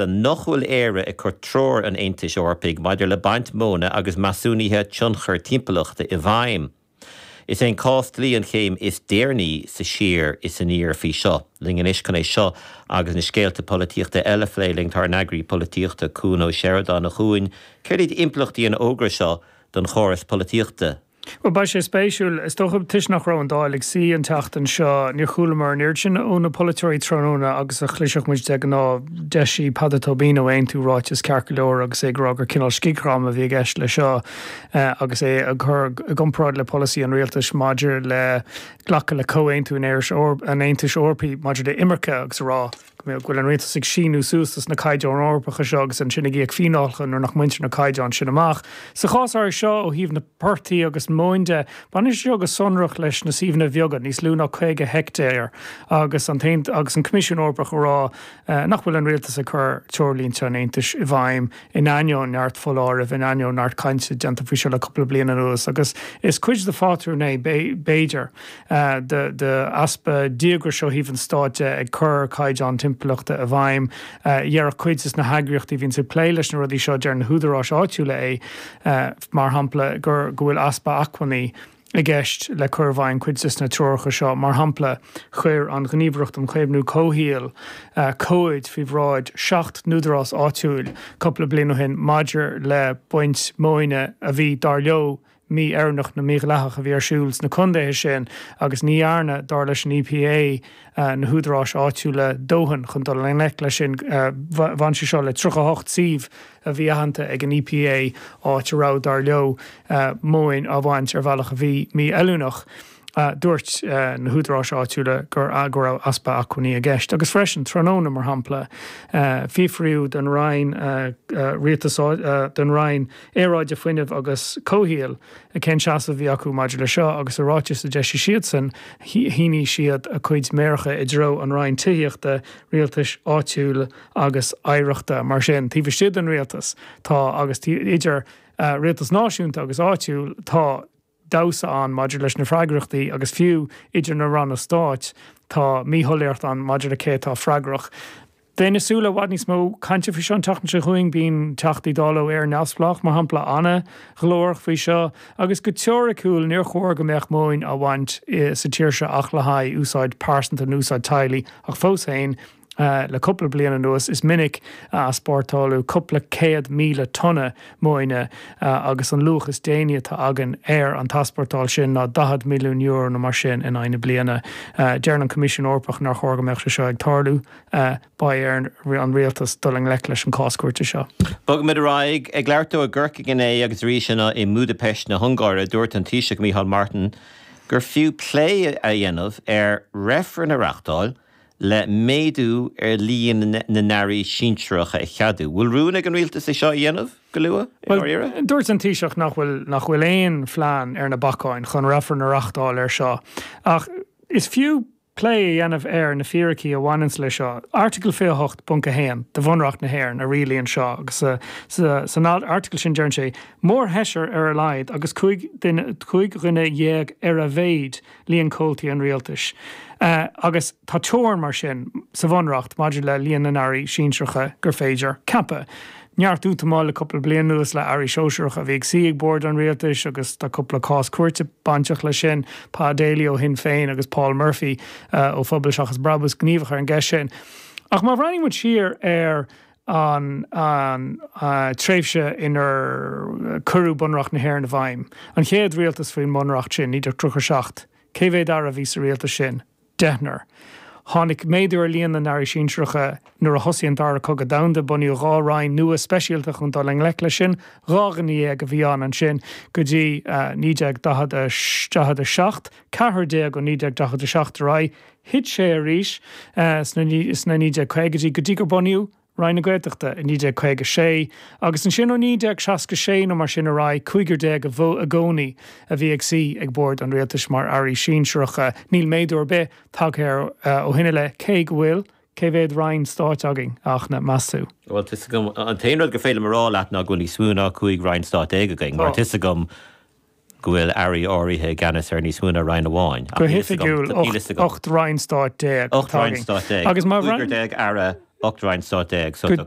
nach bhfuil Éire ag cur treoir an Aontais Eorpaigh maidir le baint móna agus measúnuithe tionchair timpeallachta i bhfeidhm. Is é an cás dlí an chéim is deireanaí sa siar is aniar faoi seo. Linn anois chun é seo agus na scéalta polaitíochta eile a phlé linn tá ár n-eagraí polaitíochta, Cuan Ó Seireadáin. A Chuain, céard iad impleachtaí an fhógra seo don chóras polaitíochta? Bhuel, beidh sé spéisiúil. Is dócha, toisc nach raibh an Dáil ag suí an tseachtain seo, níor chualamar an oiread sin ó na polaiteoirí tráthnóna agus a chloisfeadh muid de ghnáth. D'eisigh Peadar Tóibín ó Aontú ráiteas ceart go leor agus é ag rá gur cineál scigdhráma a bhí i gceist leis seo agus é á chur i gcomparáid le polasaí an rialtais maidir le glacadh le comhaontú an Aontais Eorpaigh maidir le imirce agus a rá go bhfuil an rialtas ag síniú suas dos na caighdeáin Eorpacha seo agus ansin ag íoc fíneálacha nuair nach mbaintear na caighdeáin sin amach. Sa chás áirithe seo, ó thaobh na portaigh agus móin de, baineann sé seo go sonrach leis na suíomhanna bheaga, níos lú ná 50 heicteár, agus an agus an Coimisiún Eorpach ag rá nach bhfuil an rialtas ag cur treoirlínte an Aontais i bhfeidhm in ainneoin neart foláirimh, in ainneoin neart cainte déanta faoi seo le cúpla bliain anuas agus is cuid de phátrún é, b'fhéidir. d'easpa díograis ó thaobh an stáit de ag cur caighdeáin timpeallachta i bhfeidhm. Déarfadh cuid de na heagraíochtaí a bhíonns ag plé leis na rudaí seo, deir na húdaráis áitiúla é, mar shampla, gur go bhfuil easpa acmhainní i gceist le cur i bhfeidhm cuid de na treoracha seo. Mar shampla, chuir an Ghníomhaireacht um Chaomhnú Comhshaoil comhaid faoi bhráid 7 n-údarás áitiúil cúpla bliain ó shin maidir le baint móine a bhí, dar leo, mí-oiriúnach nó mídhleathach a bhí ar siúl sna contaetha sin agus ní dhearna, dar leis an EPA, na húdaráis áitiúla dóthain chun dul i ngleic leis sin. Bhain sé seo le 38 suíomh a bhí aitheanta ag an EPA, áit a raibh, dar leo, móin á bhaint ar bhealach a bhí mí-fheiliúnach. Dúirt na húdaráis áitiúla go raibh easpa acmhainní i gceist. Agus freisin, tráthnóna, mar shampla, fiafraíodh den Roinn Rialtais, den Roinn Aeráide, Fuinnimh agus Comhshaoil cén seasamh a bhí acu maidir le seo agus i ráiteas a d'eisigh siadsan, shínigh siad a gcuid méaracha i dtreo an Roinn Tithíochta, Rialtais Áitiúil agus Oidhreachta. Mar sin, taobh istigh den rialtas tá, agus idir rialtas náisiúnta agus áitiúil, tá. damhsa ann maidir leis na freagrachtaí agus fiú idir na ranna stáit tá míshoiléireacht ann maidir le cé atá freagrach. Bheinn ag súil le i bhfad níos mó cainte faoi seo an tseachtain seo chugainn. Bíonn Teachtaí Dála ó Éire Neamhspleách, mar shampla, an-ghlórach faoi seo agus go teoiriciúil níor chóir go mbeadh móin á bhaint sa tír seo ach le haghaidh úsáid pearsanta nó úsáid teaghlaigh ach fós féin Le cúpla bliain anuas, is minic a easpórtáladh cúpla 100,000 tonna móine agus an luach is déanaí atá againn ar an t-easpórtáil sin ná €40 milliún nó mar sin in aghaidh na bliana. Deireann an Coimisiún Eorpach nár chóir go mbeadh sé seo ag tarlú. Beidh ar an rialtas dul i ngleic leis an cás cúirte seo. Bogfaimid ar aghaidh. Ag labhairt dó i gCorcaigh inné agus arís inniu i mBúdaipeist na hUngáire, dúirt an Taoiseach Micheál Martin gur fiú plé a dhéanamh ar reifreann a reáchtáil le méadú ar líon na n-airí sinsearacha a cheadú. Bhfuil rún ag an rialtas é seo a dhéanamh go luath, i ndáiríre? Bhuel, dúirt an Taoiseach nach bhfuil nach bhfuil aon phlean ar na bacáin chun reifreann a reáchtáil air seo ach is fiú plé a dhéanamh ar na fíricí a bhaineanns leis seo. Airteagal 28.1 de Bhunreacht na hÉireann a rialaíonn seo agus san airteagal sin deireann sé, Mórsheisear ar a laghad agus 15 dhuine ar a mhéid líon comhaltaí an rialtais, agus tá teorainn mar sin sa Bhunreacht maidir le líon na n-airí sinsearacha gur féidir ceapadh. Neart útamáil le cúpla bliain anuas le airí sóisearacha a bhí ag suí ag bord an rialtais agus tá cúpla cás cúirte bainteach leis sin, Pa Daly ó Shinn Féin agus Paul Murphy ó Phobal Seachas Brabús gníomhach ar an gceist sin. Ach má bhreathnaíonn muid siar ar an tréimhse inar cuireadh Bunreacht na hÉireann i bhfeidhm, an chéad rialtas faoin mBunreacht sin, 1937, cé mhéad aire a bhí sa rialtas sin? Deichniúr. Tháinig méadú ar líon na n-airí sinsearacha nuair a thosaigh an Dara Cogadh Domhanda, bunaíodh 2 roinn nua speisialta chun dul i ngleic leis sin, 12 dhuine a bhí ann ansin go dtí 1947, ceathrar déag ó 1947 ar aghaidh. Thit sé arís sna 1950idí go dtí gur bunaíodh Roinn na Gaeltachta i 1956 agus ansin ó 1966 nó mar sin ar aghaidh, cúigear déag i gcónaí a bhí ag suí ag bord an rialtais mar airí sinsearacha. Níl méadú ar bith tagtha air ó shin i leith, cé go bhfuil cé mhéad roinn stáit againn, a Fhachtna, meas tú? Bhuel, tá 'fhios agam, an t-aon rud gur féidir liom a rá leat ná go bhfuil níos mó ná 15 roinn stáit againn, mar tá 'fhios agam go bhfuil airí áirithe i gceannas ar níos mó ná roinn amháin. Go hoifigiúil, 18 roinn stáit atá againn. 18 roinn stáit. Agus mar. Cúigear déag aire, 18 roinn stát. So tá.